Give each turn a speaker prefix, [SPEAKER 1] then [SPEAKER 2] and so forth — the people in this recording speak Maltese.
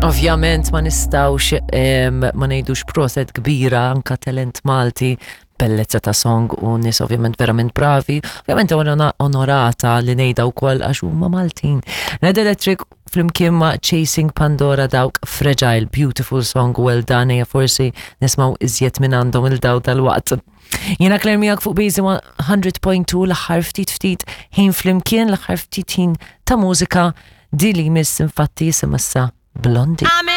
[SPEAKER 1] Ovvjament ma nistawx ma ngħidux proset kbira anka talent Malti bellezza ta' song u nies ovvjament verament bravi. Ovvjament onorata li ngħidha wkoll għax huma Maltin. Red Electric flimkien ma' Chasing Pandora dawk Fragile, beautiful song, well done, ejja forsi nismaw iżjed minn għandhom il-daw tal-waqt. Jiena Claire miegħek fuq Bazy 100.2 l-aħħar ftit ftit ħin flimkien l-aħħar ftit ħin ta' mużika di li jmiss infatti jisimha issa Blondie.